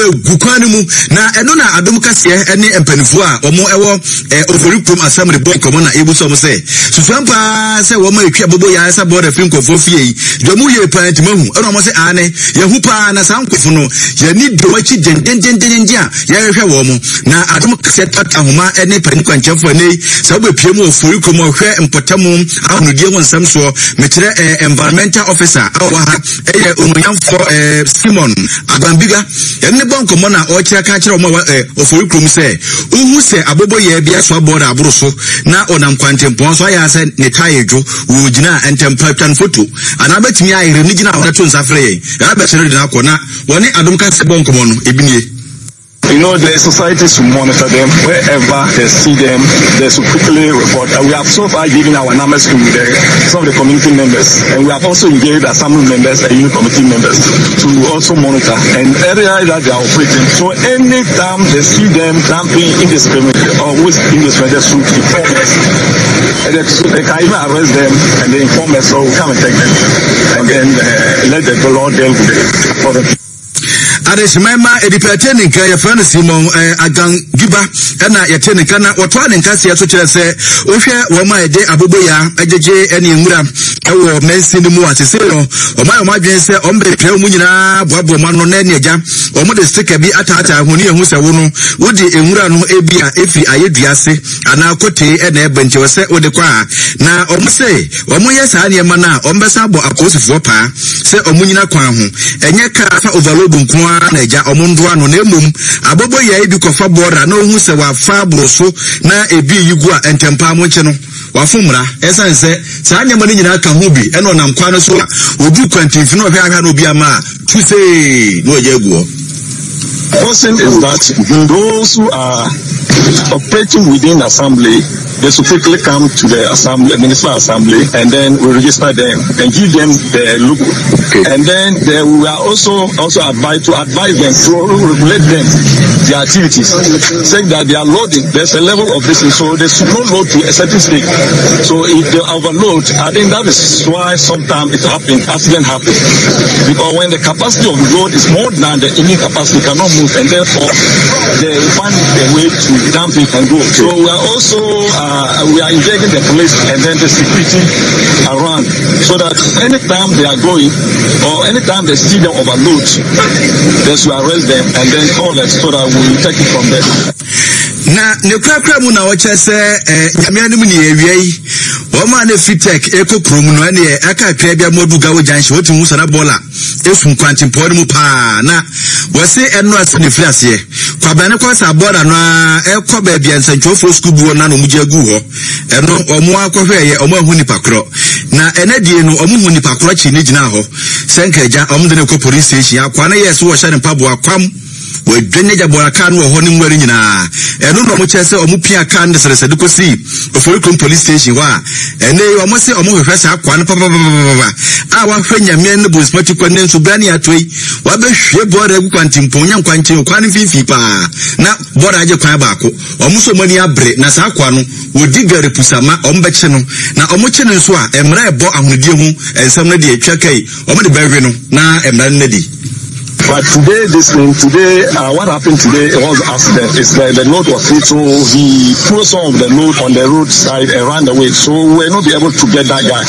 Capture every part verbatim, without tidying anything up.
nwura gu kwan no mu. Na ɛno na Adom Kaseɛ ne mpanimfoɔ a wɔn ɛwɔ eh, Ofori kurom assembly bɔ nkɔmmɔ na ebu sɛ wɔn sɛ susuan paa sɛ wɔn a etwi aboboyaa ɛsa bɔɔda firi nkurɔfoɔ fie yi deɛ wɔn yie paa ntoma hu. Ɛna wɔn sɛ aane, yɛhu paa, na saa nkurɔfo no yɛni di wɔn akyi dendendendenden a yɛrehwɛ wɔn mo. Na Adom Kaseɛ tata ahoma ne panin kwankyɛnfoɔ ɛnɛ yi sɛ wobɛpie mu wɔ Ofori kurom, ɔhwɛ mpɔtamu ahonidie ho nsɛm soɔ, mekyerɛ eh, environmental officer a ɔwɔ ha, ɛyɛ onuonyamfoɔ eh, Simon Agbanbiga. Ɛne ne bɔ nkɔmmɔ na ɔkyerɛ ka kyerɛ wɔn a eh, Ofori kurom sɛ wohu sɛ aboboyaa bi asoa bɔɔda aboro so na ɔnam kwantempɔn so ayɛ sɛ ne tae dwo, wɔgyina ntɛmpa twa no foto anaa bɛtumi ayere ne gyina hɔ to nsa frɛ yɛn, yɛabɛkyerɛ de no akɔ. Na wɔne Adom Kaseɛ bɔ nkɔmmɔ no, ebi nie. You know, the society should monitor them wherever they see them. They should quickly report. Uh, we have so far given our numbers to the, some of the community members, and we have also engaged assembly members and unit committee members to also monitor and area that they are operating. So anytime they see them dumping indiscriminately or waste indiscriminately, they should inform us. And they, they can even arrest them and they inform us, so we come and take them and then uh, let the law deal with it. Adehyeman ma edipa yɛte ne nka, yɛfrɛ no Simon eh, Agangiba, ɛna yɛte ne nka na wɔtoa ne nkaseɛ so kyerɛ sɛ wohwɛ wɔn a yɛde aboboyaa agyegye ne nwura ɛwɔ mansin no mu a, sese no wɔn ayɛ wɔn adwene sɛ wɔn bɛpia wɔn nyinaa boaboa wɔn ano na ɛne agya wɔn de sticker bi ataataa ho ne ehu sɛ wo no wode nwura no ebi a efiri ayɛ ase anaa kotee ɛna ɛbɛ nti wɔ sɛ wode kɔ a. Na wɔn sɛ wɔn yɛ saa nneɛma no a, wɔn bɛsa abɔ apolisifoɔ paa sɛ wɔn nyina kwan ho, ɛnyɛ kaa fa overload nko ara na agya wɔn ndoa no, na emom aboboyaa bi kɔfa bɔɔra na ohun sɛ wafa aboro so na ebi yi gu a, ntɛmpaa mo nkye no, wafo mmara. Ɛsan sɛ saa nneɛma no nyinaa ka ho bi ɛna ɔnam kwan no so a odu kwantinfin na ɔhwɛ ahwɛ na obi ama a tu see na ɔgya agu hɔ. Question is that those who are operating within the assembly, they should quickly come to the assembly, municipal assembly, and then we register them and give them the logo. Okay. And then they, we are also also advised to advise them to regulate them, their activities, saying that they are loading. There's a level of this, so they should not load to a certain state. So if they overload, I think that is why sometimes it happens, accident happens. Because when the capacity of the road is more than the engine capacity, cannot move, and therefore they find a way to dump it and go. So we are also uh, we are engaging the police and then the security around, so that anytime they are going or anytime they see them overload, they should arrest them and then call us so that we take it from there. Na ne kurakura mu na wɔkyerɛ sɛ eh, Nyame anim ne awia yi wɔn a na fi tech ɛkɔ kurom no, ɛneɛ aka atwa bi amoadu Gawo Junction, wɔtumi hu sana bɔɔla efu kwantempɔn no mu paa. Na wɔse ɛno ase ne firi aseɛ kwabena ne kɔ sa bɔɔla no a ɛkɔ baabi a nsɛntwerɛfoɔ sukuu bi wɔ na na wɔn gye agu hɔ. Ɛno wɔn akɔhwɛ yɛ wɔn ahu nipa korɔ, na ɛnɛ die no wɔn hu nipa korɔ kyi ne gyina hɔ sɛ nka wɔn de ne kɔ police station. Akwa no yɛ so wɔhyɛ ne mpaboa kwam, wɔadwa gya bɔɔla kaa no wɔ hɔ ne nwura no nyinaa. Ɛno na ɔmo kyerɛ sɛ ɔmo pia kaa no de sɛdɛsɛde kɔsi Ofori kurom police station hɔ a ɛnɛ yi ɔmo sɛ ɔmo hwehwɛ saa akoa no papapapapa a wahwɛ Nyame ne bonsima kɔ ne nso bra ne ato yi wabɛhwie bɔɔla agu kwantempɔn nya nkwankyɛn kwan no mfimfini paa na bɔɔla agye kwan baako. Ɔmo nso ɔmo ani abere na saa akoa no wɔdi gari pusama, ɔmo bɛkye no, na ɔmo kye no nso a, mmara ɛbɔ ahonidie ho nsɛm no deɛ twa kai ɔmo de bɛwe no na mmara no nadi. But today, this thing, today, uh, what happened today, it was accident. It's like the load was full, so he threw some of the load on the roadside and ran away. So we will not be able to get that guy.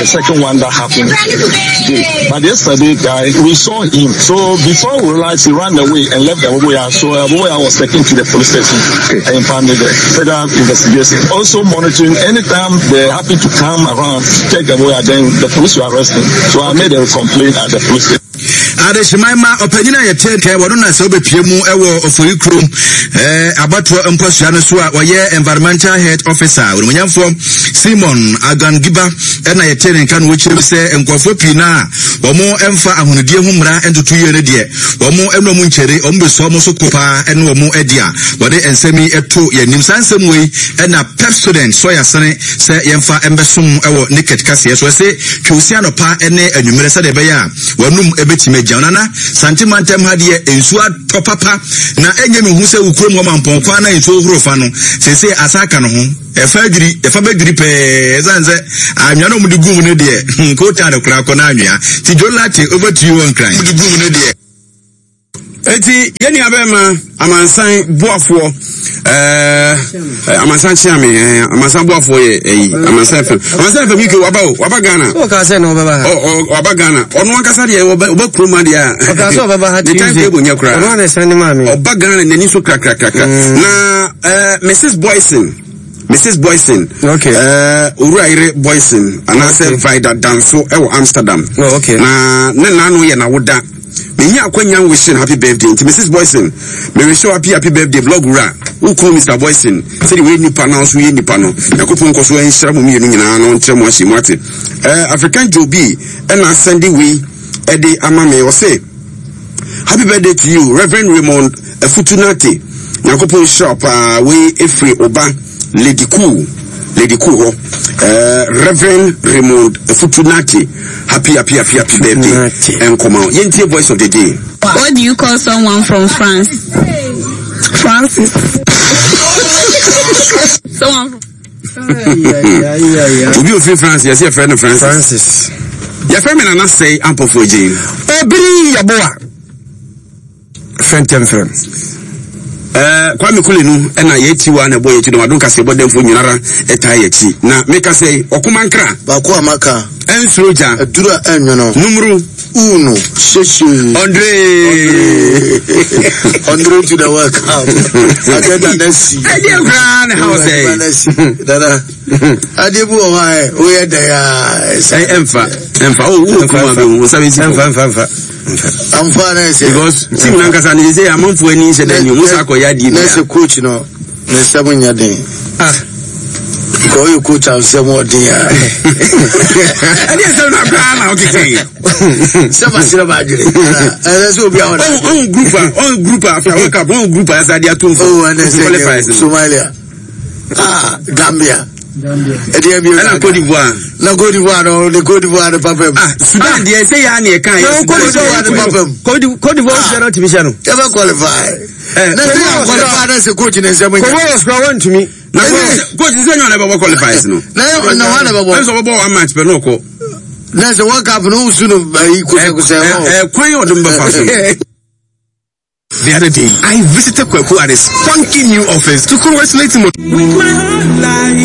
The second one that happened today. But yesterday, guy, we saw him. So before we realized, he ran away and left the Aboboyaa. So Aboboyaa was taken to the police station okay. and found there. Further investigation. Also monitoring anytime they happen to come around, check the Aboboyaa, then the police will arrest him. So I made a complaint at the police station. Adehyeman ma ɔpanyin a yɛte nkɛn wɔno na sɛ wobɛpie mu ɛwɔ Ofori kurom ɛɛ abatoɔ mpɔsua no so a wɔyɛ environmental health officer, onimonyamfoɔ Simon Agangiba, ɛna yɛte ne nka no wɔkyerɛ sɛ nkurɔfoɔ pii no a wɔn mfa ahonidie ho mmara ntoto yie no deɛ, wɔn ɛna wɔn nkyɛre wɔn bɛsua wɔn so ko paa ɛne wɔn adi a wɔde nsɛm yi ɛto yɛn anim. Saa nsɛm wei ɛna Pepsodent sɔya sene sɛ yɛmfa mbɛsom ɛwɔ naked kaseɛ so, ɛsɛ twɛwsi anɔpa ɛne anwummerɛ sɛdeɛ ɛbɛyɛ a wɔnum ɛbɛtumi agya. Nana Sante mantam ha deɛ, nsuo atɔ papa na ɛnyɛ me hu sɛ wo kurom hɔ Mampɔn kwan na nsuo horo fa no seesei asa aka no ho ɛfa adwiri ɛfa bɛdwiri pɛɛ, ɛsiane sɛ anwea no ɔmde gu mu no deɛ kootaa no koraa kɔ no anwea. Nti Jolate, over to you. Wɔ Nkran de gu mu no deɛ. Eti yɛn nua bɛrima Amansan Boafoɔ, ɛɛ Amansan Kyeame, ɛɛ Amansan Boafoɔ yɛ ɛyi Amansan F M, Amansan F M U K waba o, waba Ghana. Ɔka sɛ na ɔbɛba ha. Ɔ ɔ waba Ghana. Ɔno ankasa deɛ ɔbɛ ɔbɛ kurom adeɛ a. Ɔka sɛ ɔbɛba ha Ne time table nyɛ koraa. Ɔno ana ɛsɛn ne maame. Ɔba Ghana n'ani so krakrakrakra. Na ɛɛ Missus Boyson. Missus Boyson. Okay. Uh, Owura Yere Boyson anaasɛ Okay. Vida Danso ɛwɔ Amsterdam. Oh, okay. Na ne nano yɛ n'awoda. Menya akwanya wishing happy birthday. Nti Missus Boyson, me wish you happy happy birthday blog wura. Wo kunu Mister Boyson, sɛdeɛ woyɛ nipa na nso woyɛ nipa no. Nyankopɔn nkɔ so nhyira mo mmienu nyinaa na ɔnkyerɛ mo ahyɛ mu ate. Uh, African Joe B ɛna asɛnde wei ɛde ama me. Ɔse happy birthday to you Reverend Raymond Afutunate. Nyankopɔn nhyira wo paa. Wei efiri ɔba Lady Cool, Lady Cool hɔ. Uh, Reverend Raymond Afutunate, happy happy happy happy birthday. Nkɔmɔ yɛntie voice of the day. What do you call someone from France? Francis. Someone from Obi ofiri France, yɛsɛ yɛfrɛ no Francis. Francis. Yɛfrɛ me Nana Sɛe Ampɔfoɔ Gye. Obiri Yaboa. Fɛntɛm frɛm. Uh, Kwame Kulenu ɛna yɛakyi wa na ɛbɔ yɛakyi no wadom kaseɛ bɔ dɛmfo nyinara ɛtaa yɛakyi na meka sɛ ɔkoma nkra baako a maka ɛnsuro gya aduru a ɛnwono numru uno hyehye Andre Andre to the World Cup adeɛ nana si ɛdeɛ koraa ne haw sɛ nana si nana adeɛ bi wɔ hɔ a woyɛ dɛ a ɛ ɛmfa ɛmfa o wo kuma bɛ wo nsa bɛ si Ɛmfa mfa mfa. amfa na ɛsɛ because team nankasa ne sɛ amanfoɔ ani nhyɛ dɛ nyi musa akɔyɛ adeɛ na bi ɛsɛ coach no ne nsɛm nyɛ den Ah. nka ɔyɛ coach a nsɛm ɔden a ɛdeɛ sɛm na koraa na wokeka yi sɛ maserɛ maadwene ɛsɛ sɛ obi a ɔna ɔn group a ɔn group a after World Cup ɔn group a ɛsɛ adeɛ ato nfo oh ɛnɛ sɛ qualifiers no Somalia, ah, Gambia ɛdeɛ bi ɛna Cote d'Ivoire na Cote d'Ivoire no ne Cote d'Ivoire no papa mu. Ah, Sudan deɛ sɛ yɛ a ne yɛka yɛ Cote d'Ivoire no papa mu. Cote d'Ivoire hyɛ no tumi hyɛ no. Yɛbɛ qualify. Eh, Na sɛ yɛ qualify na sɛ coach ne nsɛm nyɛ. Comoros kura wɔntumi. Na coach coach sɛ nyɛ ɔna ɛbɛbɔ qualifiers no. Na yɛ na wɔn na bɛbɔ. Ɛnso ɔbɛbɔ one match pɛ na ɔkɔ. Na sɛ World Cup no nsu no ayi kosɛkosɛ hɔ. Ɛ kwan yɛ ɔdom bɛfa so. The other day, I visited Kweku at his funky new office to congratulate him on With my whole life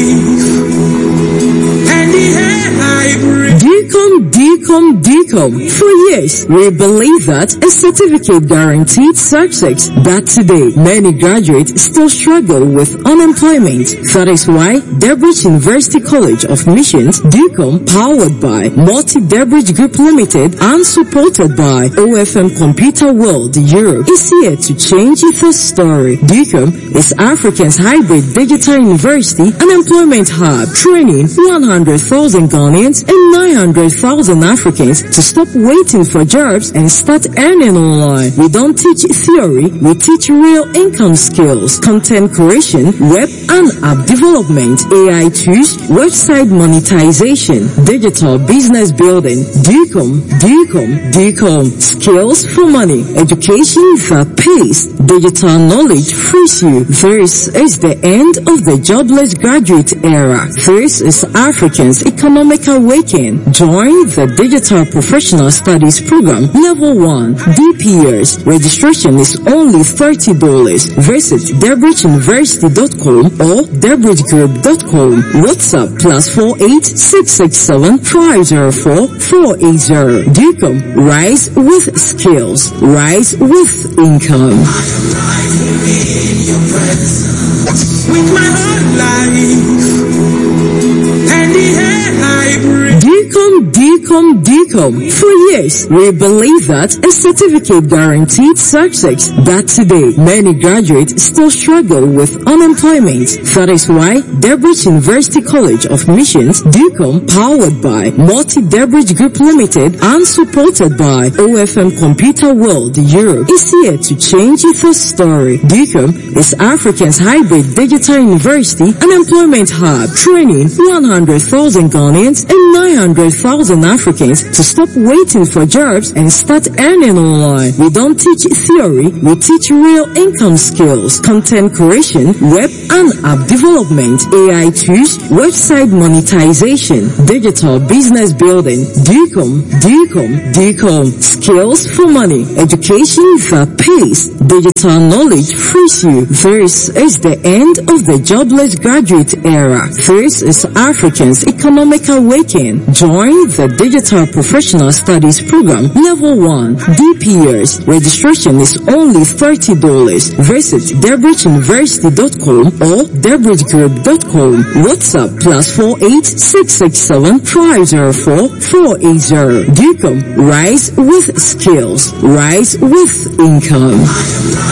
and the air I breathe. DCOM, DCOM, DCOM. For years, we believe that a certificate guaranteed success. But today, many graduates still struggle with unemployment. That is why Debridge University College of Missions, DCOM, powered by Multi Debridge Group Limited and supported by O F M Computer World Europe, is here to change the story. DCOM is Africa's hybrid digital university and employment hub, training one hundred thousand Ghanaians and nine hundred thousand Africans to stop waiting for jobs and start earning online. We don't teach theory, we teach real income skills, content creation, web and app development, A I tools, website monetization, digital business building. DCOM, DCOM, DCOM. Skills for money, education that pays, digital knowledge frees you. This is the end of the jobless graduate era. This is Africans' economic awakening. Join the Digital Professional Studies Program, Level one, D P S. Registration is only thirty dollars. Visit debridge university dot com or debridge group dot com. WhatsApp plus four eight six six seven five zero four four eight zero. DCOM, rise with skills, rise with income. With my whole life and the air I breathe. DCOM, DCOM, DCOM. For years, we believe that a certificate guaranteed success. But today, many graduates still struggle with unemployment. That is why Debridge University College of Missions, DCOM, powered by Multi Debridge Group Limited and supported by O F M Computer World Europe, is here to change the story. DCOM is Africa's hybrid digital university and employment hub, training one hundred thousand Ghanaians and nine hundred thousand Africans to stop waiting for jobs and start earning online. We don't teach theory, we teach real income skills, content creation, web and app development, A I tools, website monetization, digital business building. DCOM, DCOM, DCOM. Skills for money. Education that pays. Digital knowledge frees you. This is the end of the jobless graduate era. This is Africans' economic awakening. Join the Digital Professional Studies Program Level one D P S. Registration is only thirty dollars. Visit debridgeuniversity dot com or debridgegroup dot com. WhatsApp plus four eight six six seven five zero four four eight zero. DUCOM. Rise with skills. Rise with income.